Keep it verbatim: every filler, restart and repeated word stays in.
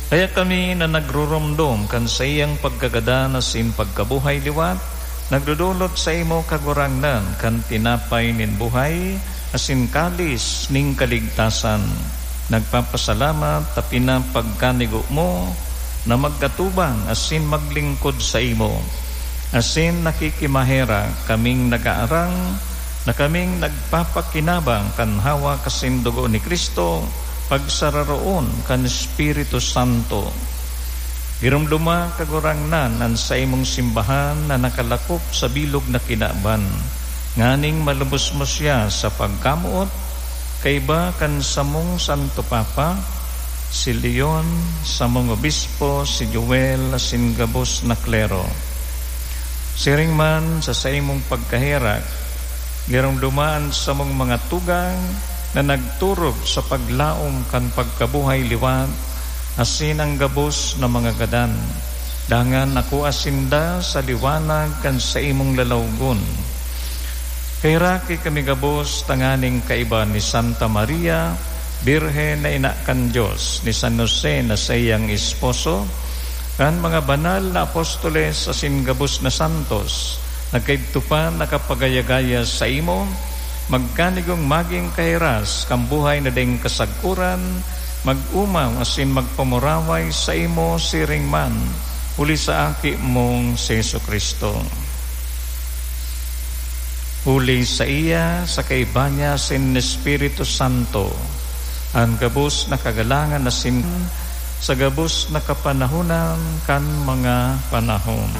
Kaya kami na nagruromdom kan saiyang pagkagadan asin pagkabuhay liwat, nagdodolot saimo, Kagurangnan, kan tinapay nin buhay asin kalis nin kaligtasan. Nagpapasalamat ta pinapagkanigo mo na magkatubang asin maglingkod saimo, asin nakikimaherak kaming nag-aarang na kaming nagpapakinabang kan hawak asin dugo ni Cristo, pagsararoon kan Espiritu Santo. Giromdoma, Kagurangnan, an saimong simbahan na nakalakop sa bilog na kinaban, nganing malubos mo siya sa pagkamoot, kaiba kan samong Santo Papa, si Leon, samong obispo, si Joel, asin gabos na klero. Siring man sa saimong pagkaherak, giromdoma an samong mga tugang na nagturog sa paglaom kan pagkabuhay liwat asin an gabos na mga gadan. Dangan akua sinda sa liwanag kan saimong lalawgon. Kaheraki kami gabos tanganing kaiba ni Santa Maria, Birhen na ina kan Dios, ni San Jose na saiyang esposo, kan mga banal na apostoles asin gabos na santos, na kaidto pa nakapagaya-gaya saimo, magkanigong magin kahiras kan buhay na daing kasagkoran, mag-omaw asin magpamuraway saimo siring man, huli sa Aki mong si Jesu-Cristo. Huli saiya, sa kaiba niya asin Espiritu Santo, an gabos na kagalangan asin sa gabos na kapanahonan kan mga panahon.